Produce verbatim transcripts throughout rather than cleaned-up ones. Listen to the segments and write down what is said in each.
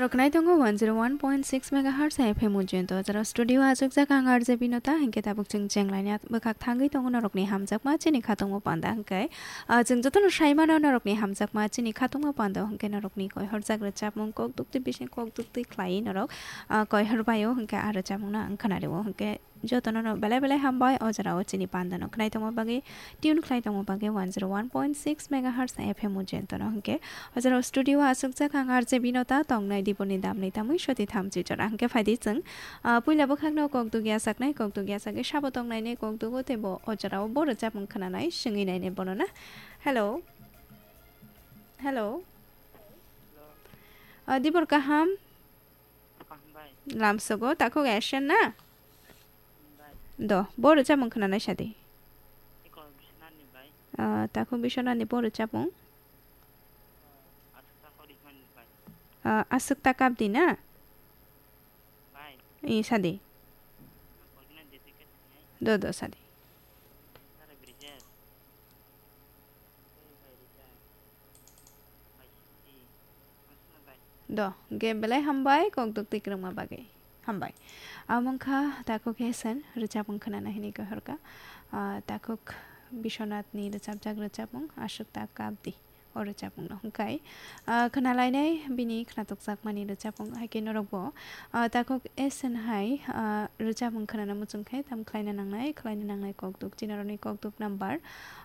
Rok nai tongo one zero one point six megahertz F M Ujjain to, jara studio achukjak ang R J Binota, hinkhe tabuk chwng chenglaina bwkhak thangwi tongo norokni hamjakma chini khatungma panda hinkhe, ah, chwng jotono saimano norokni hamjakma chini khatungma panda hinkhe norokni koihorjak rwchapmung kok dukti bising kok dukti khlaiwi norok, ah, koihor baio hinkhe ah rwchapmungno ang khwnario hinkhe jotono no belai belai hambai o jora o chini panda no khnai tongma bagwi, tune khlai tongma bagwi one zero one point six megahertz F M Ujjain to no hinkhe o jora o studio o aswkjak ang R J Binota tongnai diboni damni tamwi soti thamchi jora hinkhe phaidi chwng, ah, puila bwkhak no kok dugya saknai kok dugya sakwi sabo tongnai ne kok dugo tei bo o jora o bo rwchapmung khwnanai swngwi nai ne bono na. Hello. Hello. Ah, dibor kaham. Lamsogo takhuk Asian na? Do, bo rwchapmung khwnanai sadi. Ah, takhuk Biswanathni bo rwchapmung. Ah, aswk ta kapdi na? I sadi. Do, do, sadi. Do, ge belai hambai, kok duk twi kwrwngma bagwi. Hambai. Amo wngkha takhuk Asian rwchapmung khwnana hinwi khe horkha. Ah, takhuk Biswanathni rwchapjak rwchapmung Aswk Ta Kapdi. O rwchapmungno hwnkhe, ah, khwnalainai bini khwnatukjakmani rwchapmung hai khe norokbo, ah, takhuk Asian hai, ah, rwchapmung khwnana muchung khe tam khlaina nangnai, khlaina nangnai kok duk. Chini norokni kok duk number,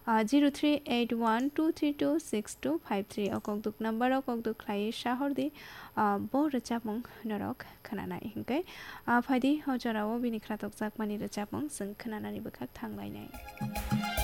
ah, zero three eight one two three two six two five three. O kok duk number o kok duk khlaiwi sahordi, ah, bo rwchapmung norok khwnanai hinkhe, ah, phaidi o jorao bini khwnatukjakmani rwchapmung chwng khwnanani bwkhak thanglainai.